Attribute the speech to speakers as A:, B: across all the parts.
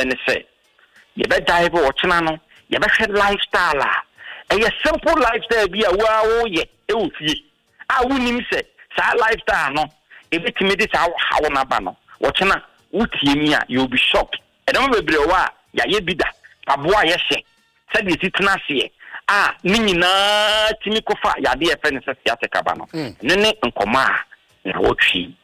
A: Ɛne sɛ yɛbɛ dive ɔkyena no, yɛbɛhwɛ lifestyle a ɛyɛ simple lifestyle bi a wo ara woyɛ wɔ fie a wonnim sɛ saa lifestyle no ɛbɛtumi de saa ɔhaw no aba no. Ɔkyena wotie mi a, you will be shocked. Nneɛma bebree wɔ hɔ a yɛayɛ bi da, mpaboa a yɛhyɛ, sɛdeɛ yɛsi tena aseɛ a ne nyinaa tumi kɔfa yadeɛ a yɛfrɛ no sɛ sciatica ba no. Ɛno ne nkɔmmɔ a nnawɔtwe yi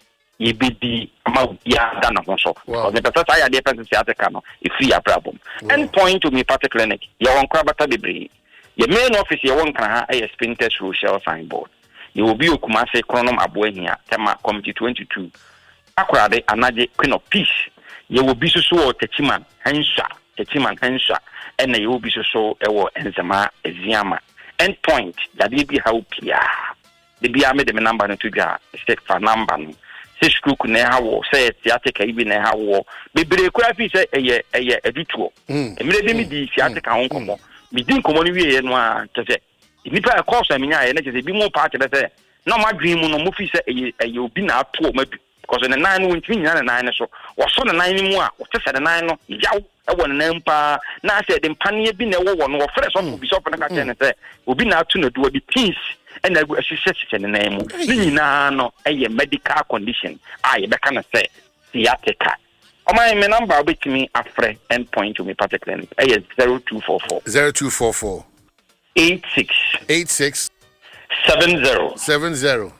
A: yɛbɛdi ama obiara da ne ho so. Because mepɛ sɛ saa yadeɛ fɛ sɛ sciatica no ɛfiri yɛn abrabɔ mu. End Point Homeopathic Clinic, yɛwɔ nkorabata bebree. Yɛn main office yɛwɔ Nkran ha yɛ Spintex Road Shell signboard. Yɛwɔ bi wɔ Kumasi, Kronom Aboahia, Tema, Committee 22, Takoradi, Anagye, Queen of Peace. Yɛwɔ bi nso so wɔ Techiman, Hansua, Techiman, Hansua, ɛna yɛwɔ bi nso so wɔ Nzema, Eziama. End Point, yadeɛ bi ha wo biara, Da biara mede me number no to dwa a, mese fa number no. Sɛ stroke na ɛha woɔ, sɛ sciatica yi bi na ɛha woɔ. Bebree koraa fii sɛ ɛyɛ ɛyɛ adutoɔ. Mmerɛ bi medii sciatica ho nkɔmmɔ. Medi nkɔmmɔ no wieeɛ no ara, kyerɛ sɛ nnipa a ɛkɔɔ so a menyaeɛ no kyerɛ sɛ ebinom paa kyerɛ sɛ na wɔn adwene mu no wɔfii sɛ ɛyɛ ɛyɛ obi na ato wɔn adu. Because ne nan no wɔntumi nnyina ne nan no so. Wɔsɔ ne nan no mu a, wɔte sɛ ne nan no yaw wɔ ne nan mu paa. Na asɛ ɛde mpaneɛ bi na ɛwɔ wɔ no. Wɔfrɛ sɔfo bi, sɔfo no ka kyerɛ no sɛ obi na ato no adu, ɔde pins na agu ahyehyɛ hyehyɛ ne nan mu. Ne nyinaa no yɛ medical condition a yɛbɛka no sɛ sciatica. Ɔman, me number a wobɛtumi afrɛ End Point Homeopathic Clinic ɛyɛ 0244.
B: 0244.
A: 86.
B: 86.
A: 70.
B: 70.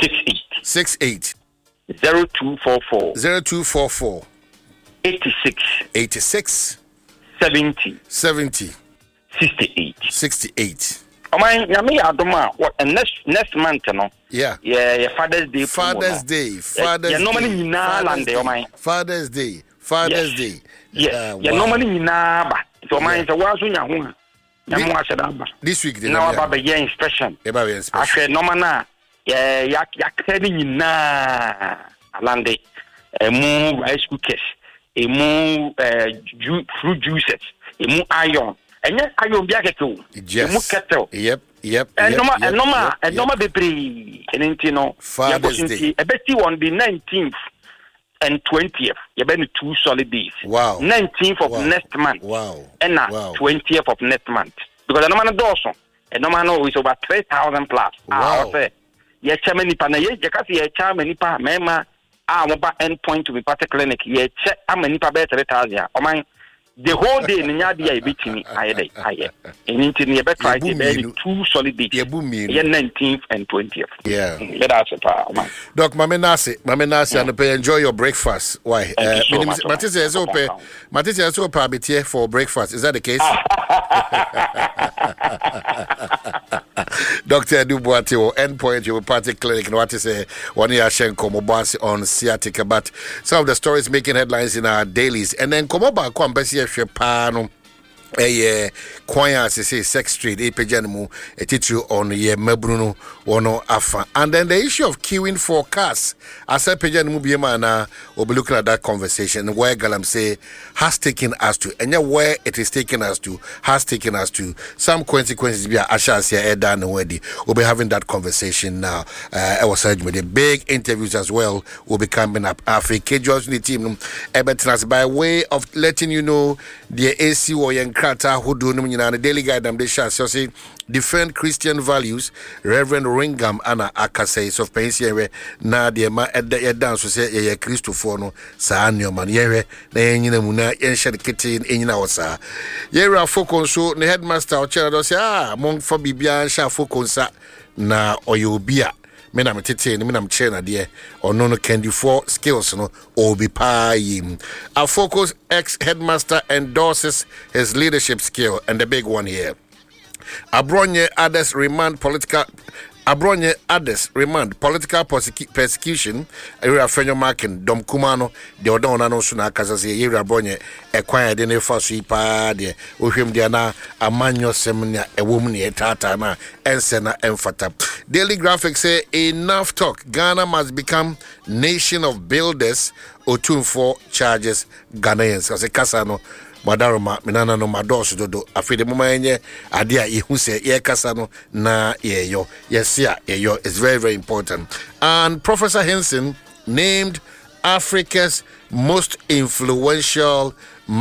A: 68.
B: 68.
A: 0244.
B: 0244.
A: 86.
B: 86.
A: 70.
B: 70.
A: 68.
B: 68.
A: Ɔman, Nyame yɛ adom a, wɔ next month no.
B: Yeah.
A: Yɛ yɛ Father's Day promo
B: Father's
A: no.
B: Day. Father's
A: Yɛ nneɛma no
B: Day.
A: nyinaa
B: Father's
A: lande
B: Day.
A: ɔman.
B: Father's Day. Father's
A: Yes.
B: Day.
A: Yes.
B: Ah,
A: Yɛ nneɛma
B: wow.
A: no nyinaa ba. Nti ɔman sɛ woa nso nya ho a, Nyame wahyɛ da aba.
B: This week de
A: Na waba bɛyɛ inspection.
B: Yɛba bɛyɛ inspection.
A: Ahwɛ nneɛma no a yɛ yɛaka no nyinaa alande. Emu rice cookers, emu ju fruit juices, emu iron. Ɛnyɛ iron bi akɛkɛ o.
B: Yes.
A: Emu kettle.
B: Yep. Yep.
A: Ɛnɔma ɛnɔma ɛnɔma bebree. Ɛno nti no.
B: Father's Day.
A: Nti ɛbɛsi on the 19th and 20th. Yɛbɛ no two solid days.
B: Wow.
A: 19th of next month.
B: Wow.
A: Ɛna 20th of next month. Because ɛnɔma no dɔɔso. Ɛnɔma no is over 3,000 plus.
B: Wow.
A: A ɔsɛ yɛkyɛ ma nipa na yɛ yɛka sɛ yɛkyɛ ama nipa mmarima a wɔba End Point Homeopathic Clinic, yɛkyɛ ama nipa bɛyɛ 3,000 a, ɔman, the whole day no nyɛ adeɛ a yɛbɛtumi ayɛ dɛ ayɛ. Ɛno nti no yɛbɛtry sɛ yɛbɛyɛ no two solid days, ɛyɛ 19th and 20th.
B: Yeah.
A: Yɛda ase paa, ɔman.
B: Doc, mame nase, mame nase anɔpɛ, enjoy your breakfast. Why?
A: Thank you so much.
B: Mate sɛ ɛsɛ wopɛ, mate sɛ ɛsɛ wopɛ abeteɛ for breakfast. Is that the case? Dr. Edu Boate wɔ Endpoint Homeopathic Clinic na wate sɛ wɔne yɛ ahyɛ nkɔmmɔbɔ ase on sciatica, but some of the stories making headlines in our dailies, and then nkɔmmɔ baako a mpɛ sɛ yɛhwɛ paa no ɛyɛ kwan a sese sex trade ɛpagya no mu ɛtitiri ɔno yɛ mmabunu no wɔn afa, and then the issue of queuing for cars asɛ pagya no mu biem anaa. We'll be looking at that conversation, where galamsey has taken us to, ɛnyɛ where it is taking us to, has taken us to, some consequences bi a ahyɛ aseɛ ɛda ne ho adi. We'll be having that conversation now. Ɛwɔ saa dwumadi, big interviews as well will be coming up. Afei Kejuan nso ne team no ɛbɛtena ase by way of letting you know deɛ ɛsi wɔ yɛn krataa ahodoɔ no mu nyinaa no. Daily Guide nam de hyɛ aseɛ ɔse Defend Christian Values, Rev. Ringham ana akasa yi, Sɔfopanyin sɛ yɛnhwɛ na deɛ ɛma ɛda yɛda nso sɛ yɛyɛ Kristofoɔ no, saa nneɛma no yɛnhwɛ na yɛnyina mu na yɛnhyɛ no ketee na ɛnyina hɔ saa. Yɛwura Afoko nso ne headmaster ɔkyerɛ no sɛ ah momfa biribiara nhyɛ Afoko nsa na ɔyɛ obi a me na metetee no, me na mekyerɛ no adeɛ, ɔno no kandifoɔ skills no ɔwɔ bi paa yie mu. Afoko's ex headmaster endorses his leadership skill, and the big one here. Abronye others remand political Abronye others remand political persecution. Ewura Afenyo Markin dɔm kumaa no deɛ ɔda wɔn ano nso na akasa sɛ yɛwura Abronye ɛkwan a yɛde ne fa so yi paa deɛ wohwɛ mu deɛ na amanyɔsɛm nea ɛwɔ mu nea ɛtaataa no a ɛnsɛ na ɛmfata. Daily Graphic sɛ enough talk, Ghana must become nation of builders, Otumfoɔ charges Ghanaians. Ɔsɛ kasa no madaroma me nananom adɔɔso dodo, afei de moma yɛnyɛ adeɛ a yɛhu sɛ yɛrekasa no na yɛyɔ, yɛse a yɛyɔ. It's very very important. And Professor Hinson named Africa's most influential